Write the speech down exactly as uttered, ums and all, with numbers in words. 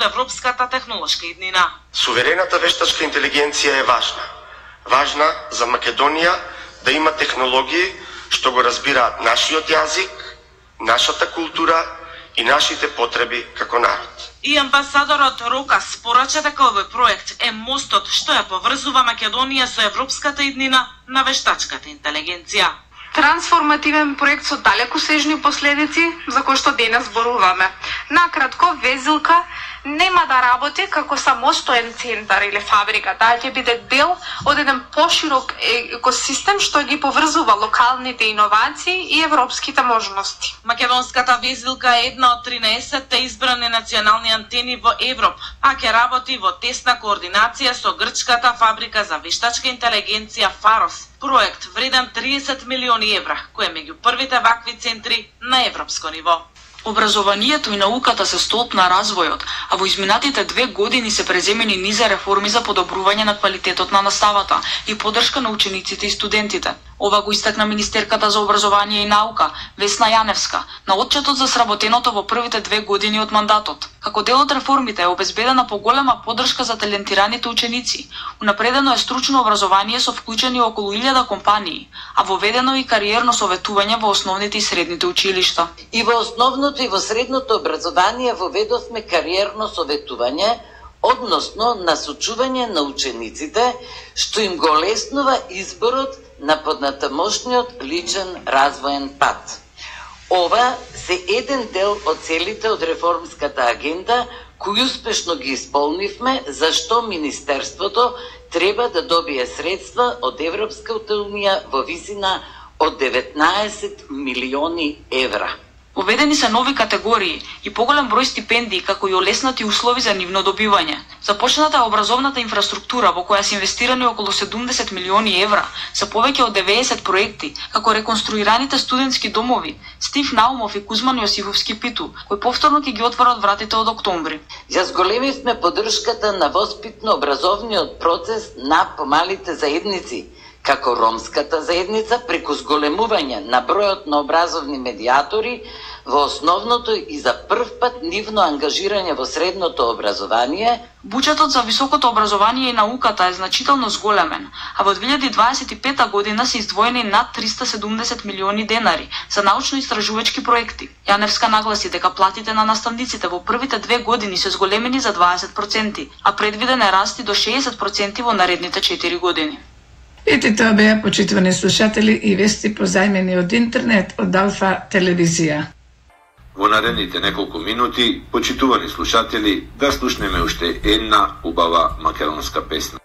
од европската технолошка иднина. Суверената вештачка интелигенција е важна. Важна за Македонија да има технологии што го разбираат нашиот јазик, нашата култура и нашите потреби како народ. И амбасадорот Рокас порача дека овој проект е мостот што ја поврзува Македонија со европската иднина на вештачката интелигенција. Трансформативен проект со далекосежни последици за кои што денес зборуваме. Накратко, Везилка нема да работи како самостоен центар или фабрика, таа ќе биде дел од еден поширок екосистем што ги поврзува локалните иновации и европските можности. Македонската Везилка е една од тринаесетте избрани национални антени во Европа, а ќе работи во тесна координација со грчката фабрика за вештачка интелигенција Фарос, проект вреден триесет милиони евра, кој е меѓу првите вакви центри на европско ниво. Образованието и науката се столб на развојот, а во изминатите две години се преземени низа реформи за подобрување на квалитетот на наставата и поддршка на учениците и студентите. Ова го истакна министерката за образование и наука, Весна Јаневска, на отчетот за сработеното во првите две години од мандатот. Како дел од реформите е обезбедена поголема поддршка за талентираните ученици. Унапредено е стручно образование со вклучени околу илјада компании, а воведено и кариерно советување во основните и средните училишта. И во основното и во средното образование воведовме кариерно советување, односно насочување на учениците, што им го олеснува изборот на поднатамошниот личен развоен пат. Ова се еден дел од целите од реформската агенда, кои успешно ги исполнивме, зашто Министерството треба да добие средства од Европската унија во висина од деветнаесет милиони евра. Уведени се нови категории и поголем број стипендии, како и олеснати услови за нивно добивање. Започната е образовната инфраструктура во која се инвестирани околу седумдесет милиони евра, се повеќе од деветдесет проекти, како реконструираните студентски домови Стив Наумов и Кузман Јосифовски Питу, кои повторно ќе ги отворат вратите од октомври. Ја зголемивме поддршката на воспитно-образовниот процес на помалите заедници, како ромската заедница, преку зголемување на бројот на образовни медиатори во основното и за прв пат нивно ангажирање во средното образование. Буџетот за високото образование и науката е значително зголемен, а во две илјади дваесет и пета година се издвоени над триста седумдесет милиони денари за научно-истражувачки проекти. Јаневска нагласи дека платите на наставниците во првите две години се зголемени за дваесет проценти, а предвиден е раст и до шеесет проценти во наредните четири години. Ете тоа беа, почитувани слушатели, и вести позајмени од интернет од Алфа телевизија. Во наредните неколку минути, почитувани слушатели, да слушнеме уште една убава македонска песна.